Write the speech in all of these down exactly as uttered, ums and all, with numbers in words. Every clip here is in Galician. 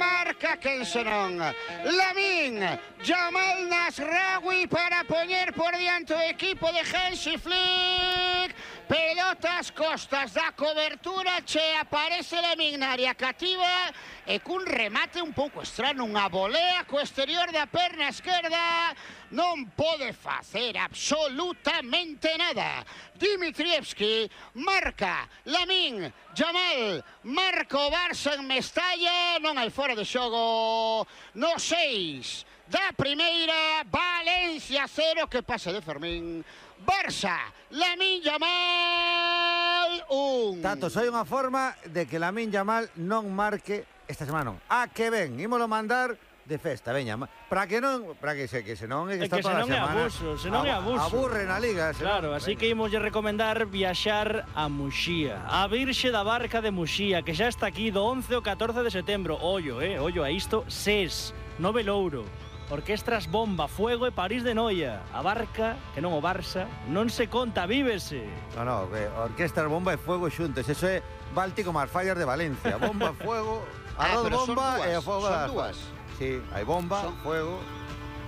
marca quen senón Lamine Yamal Nasraoui para poñer por diante o equipo de Hansi Flick. Pelotas costas da cobertura, che aparece Lamine na área cativa e cun remate un pouco estrano, unha volea co exterior da perna esquerda. Non pode facer absolutamente nada. Dimitrievski marca Lamine Yamal, marca o Barça en Mestalla, non hai fora de xogo no seis da primeira. Valencia cero, que pasa de Fermín. Barça, Lamine Yamal un. Tato, hai unha forma de que Lamine Yamal non marque esta semana. Non. A que ven, ímolo mandar de festa, veña, para que non, para que se que senón é que está toda a semana. Abuso, senón é abuso. Aburre na liga, senón. Claro, así que ímoslle recomendar viaxar a Muxía, a Virxe da Barca de Muxía, que xa está aquí do once ao catorce de setembro. Ollo, eh, ollo a isto, SES, Nove Louro, Orquestras Bomba, Fuego e París de Noia. A Barca, que non o Barça, non se conta, vívese. No, no, que Orquestras Bomba e Fuego xuntos, eso é Báltico máis fallas de Valencia. Bomba, Fuego, arroz ah, bomba e o Fuego son das dúas. Sí, hai bomba, son... fuego.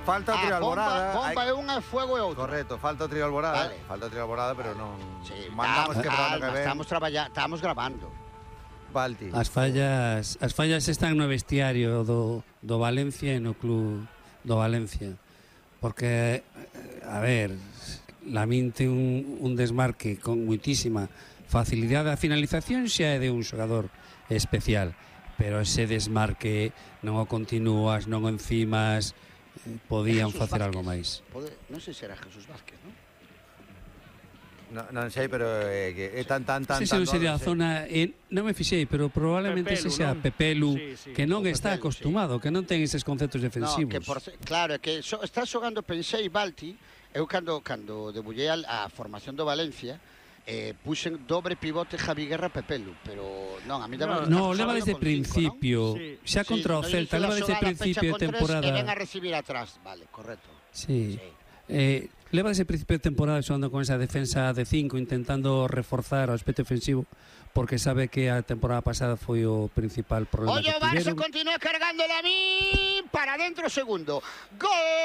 Falta o ah, trío alborada. Bomba, bomba hai... é unha, fuego é outra. Correcto, falta o trío alborada. Vale. Falta o trío alborada, pero non... Sí, mandamos que para que ven. Estamos traballando, estamos grabando. Balti. As fallas, as fallas están no vestiario do, do Valencia e no club do Valencia. Porque, a ver, Lamine ten un, un desmarque con muitísima facilidade. A finalización xa é de un xogador especial, pero ese desmarque non o continúas, non o encimas, eh, podían facer algo máis. Pode, non sei se era Jesús Vázquez, non? No, non sei, pero é, que é tan, tan, tan... Non sei se non sería a zona... Eh, non me fixei, pero probablemente Pepelu, se xa non? Pepelu, sí, sí, que non Pepelu, está acostumado, sí. Que non ten eses conceptos defensivos. No, que por, claro, que so, está xogando, pensei, Balti, eu cando, cando debullei a, a formación do Valencia, eh, puxen dobre pivote Javi Guerra Pepelu, pero non, a mí daba... No, no leva desde o principio, cinco, ¿no? xa sí, contra o no, Celta, leva desde o principio de temporada. E ven a recibir atrás, vale, correcto. Sí, sí. Eh, leva desde o principio de temporada xogando con esa defensa de cinco, intentando reforzar o aspecto ofensivo, porque sabe que a temporada pasada foi o principal problema. Oye, que o Barça tiveron. continúa cargando Lamine para dentro segundo. Gol!